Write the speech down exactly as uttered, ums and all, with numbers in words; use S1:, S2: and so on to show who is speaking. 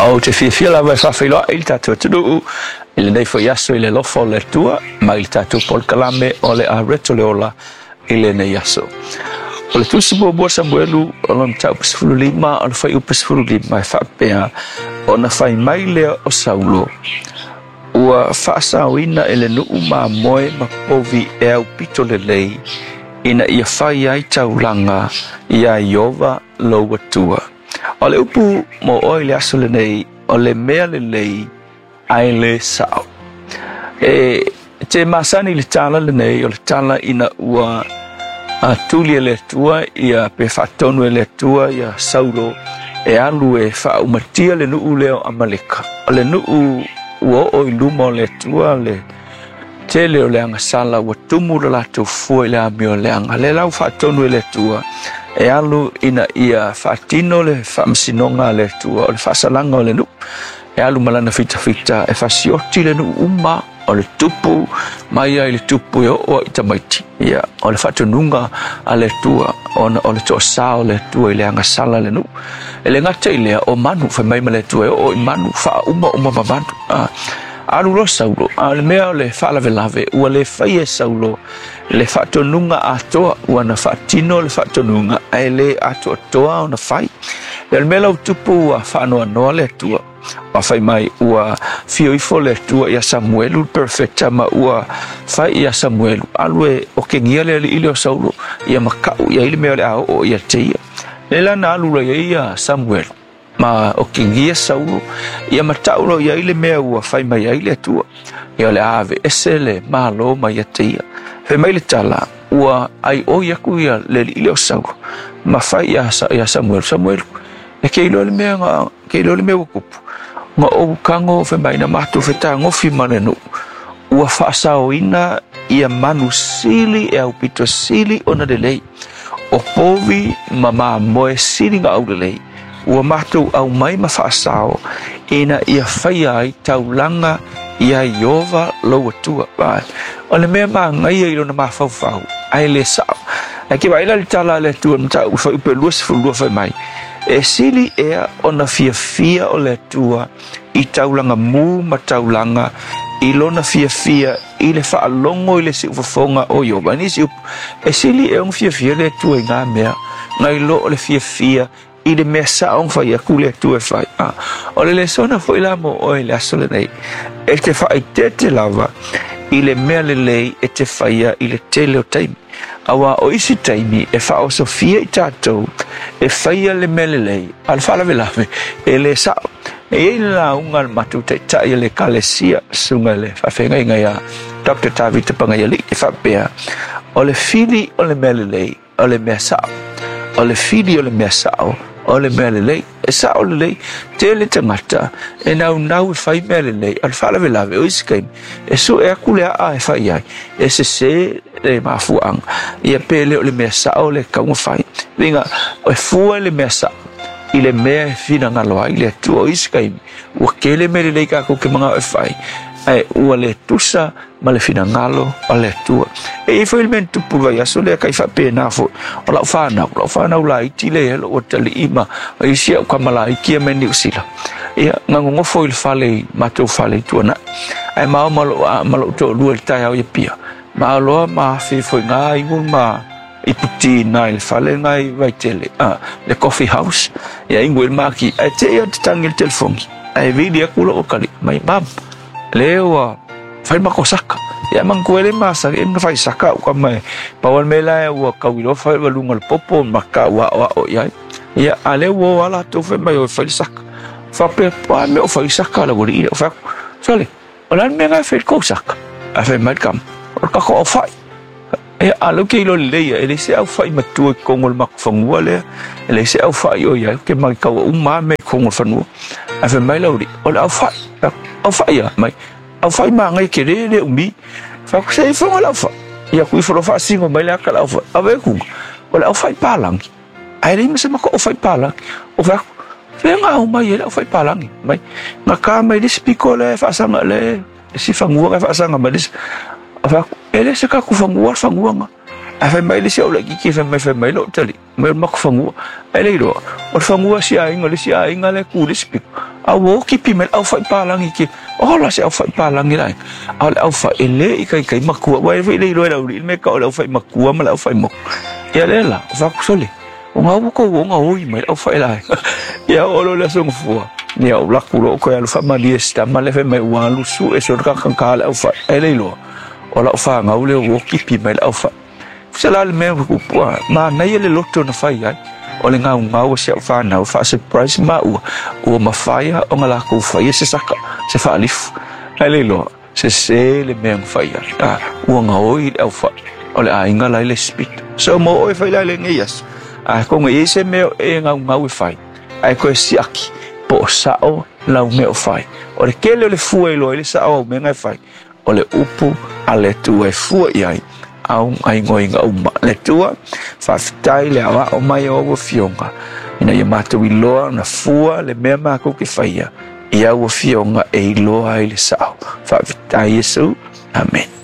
S1: Ou te fiafia lava e faafeiloai i le tatou atunuu i lenei foi aso i le alofa o le Atua ma i le tatou polokalame o le Areto le Ola i lenei aso. O le tusi muamua Samuelu o lona mataupu sefulu lima o le fuaiupu sefulu lima e faapea ona fai mai lea o Saulo ua faasaoina e le nuu mamoe ma povi e aupito lelei ina ia fai ai taulaga iā Ieova lou Atua. O le upu mo oe i le aso lenei o le mea lelei ae le sao. E te masani i le tala lenei o le tala ina ua tuli e le Atua ia pe faatonu e le Atua ia Saulo e alu e faaumatia le nuu lea o Amaleka. O le nuu ua oo i luma o le Atua le tele o le agasala ua tumu le latou fua i le amio leaga. Le lau faatonu e le Atua e alu ina ia faatino le faamasinoga a le Atua o le faasalaga o le nuu. E alu ma lana fitafita e fasioti le nuu uma o le tupu mai ai le tupu e oo i tamaiti. Ia, o le faatonuga a le Atua ona o le toasā o le Atua i le agasala le nuu. E le gata i lea o manu fai mai ma le Atua e oo i manu faauma uma ma manu. Ah, alu loa Saulo, a le mea o le faalavelave ua le fai e Saulo le faatonuga atoa ua na faatino le faatonuga ae le atoatoa ona fai. E le mea lau tupu ua faanoanoa le Atua. Ua fai mai ua fio ifo le Atua ia Samuelu le perfecta ma ua fai ia Samuelu alu e okegia le alii lea o Saulo ia makau ia i le mea o le a oo ia te ia. Le la na alu loa ia Samuelu ma okegia Saulo ia matau loa ia i le mea ua fai mai ai le Atua. Ia o le a aveese le malo mai ia te ia. Fai mai le tala ua ai oi aku ia le alii lea o Saulo ma fai ia, ia Samuelu. Samuelu e ke iloa le mea nga ke iloa le mea ua kupu. Nga ou kango fai mai na matou fetagofi ma le nuu ua faasaoina ia manu sili e aupito sili ona lelei. O povi ma mamoe sili nga au lelei. Ua matou aumai ma faasao ina ia faia ai taulaga ia Ieova lou Atua. O le mea magaia i lona mafaufau ae le sao. Ae ke vaai la le tala a le Atua mataupu fuaiupu luasefulu lua fai mai. E sili ea ona fiafia o le Atua i taulaga mu ma taulaga i lona fiafia i le faalogo i le siufofoga o Ieova. Nisi upu, e sili ea ona fiafia le Atua i ngā mea, ngai lo o le fiafia i le mea sao fai aku le Atua e fai. Ah, o le lesona foi la mo oe le aso lenei, e te faaeteete lava i le mea lelei e te faia i le tele o taimi. Auā o isi taimi e faaosofia i tatou e faia le mea lelei, a le faalavelave e le sao. E iai le lauga a le matou taitai a le Ekalesia, susuga i le faafeagaiga ia Doctor Tavita Pagaialii, e faapea, o le fili o le mea lelei, o le mea sao. O le fili o le mea sao, o le mea lelei. E sao lelei, tele tagata e naunau e fai mea lelei, a le faalavelave o isi taimi, e sue aku le aa e fai ai, e sesē le mafuaaga. Ia pe le o le mea sao le kauga fai. Uiga, e fua le mea sao i le mea e finagalo ai le Atua. O isi taimi, ua tele mea lelei tatou te manao e fai, ae ua le tusa ma le finagalo o le Atua. E iai foi le mea na tupu i le vaiaso lea kai faapena foi. O lau whanau, lau whanau laiti le e lou atalii ma isi au kama laiti ia mai Niu Sila. Ia, ngagogofo i le fale i matou fale i Tuanai. Ae mao ma lou ma lou toalua i le taeao i Apia. Ma aloa ma afe foi ngā igu ma iputi nā i le fale ngā i Vaitele, ah, le coffee house. Ia ingu i le maki. Ae te ia te tangi le telefoni. Ae vili aku lou akali. Mai mam, le ua fai mako saka. Ia manatua e le masani e na fai saka au kama e pau le mea la ua kauiloa fai ua luga o le popo ma ka ua aoao i ai. Ia a lea ua o ala latou fai mai o e fai le saka. Faapea pa mea o fai saka le ualii lea o fai atu. Sole, o le a le mea na e fai i le kou saka? Ae fai mai le kama, o le tatou aufai. Ia a lea ou te iloa lelei ia, e leai se aufai matua i totonu o le matou fanua lea, e leai se aufai o i ai, ou te matau uma lava mea i totonu o le fanua. Ae fai mai le aualii, o le aufai, aufai a mai, aufai magaia tele le umi. Fai atu, se i foga le aufai. Ia atu ifo loa faasino mai le ata le aufai. Ave atu, o le aufai palagi. Ae leai ma se matou aufai palagi. O fai atu, fea na au mai ai le aufai palagi. Mai, na ka mai le isi pito lea e faasaga le isi fanua na e faasaga mai le isi. Fai atu, e le se tatou fanua le fanua na. Ae fai mai le isi au laitiiti fai mai fai mai lou talii, mai o le matou fanua. Ae le iloa, o le fanua si aiga, le isi aiga lea e tu i le isi pito. A ua okipi mai le aufaipalagi ke ola se aufaipalagi la a o le aufai e lē i kaikai makua ua e foi le iloa e le auli'i le mea ka o le aufai makua ma le aufai moku ia lea la o faakusole o gau ua kou oga oi mai le aufai laega ia oo loa le aso gafua ia ou laku loa ou toe alu faamalie se tama lea fai mai ua alu su'e solo kakagā le aufai ae le iloa o la'u fagau lea ua okipi mai le aufai se la le mea ua manaia le loto na fai ai o le gaugau o si a'u fanau faa-surprise maua ua mafaia ona lakou faia se saka se faalifu ae le iloa sesē le mea na fai ai a ua gaoi le aufai o le aiga la i le isi pito so mo oe fai la i lenei aso a koga i ai se mea e gaugau e fai ae toe siaki po o sa'o lau mea o fai o le tele o le fua e iloa ai le sa'o au mea e fai o le upu a le Atua e fua i ai au gaoioiga uma le Atua faafetai le aoao mai o au afioga ina ia matou iloa ona fua le mea makou ke faia i au afioga e iloa ai le sa'o faafetai Iesu. Amen.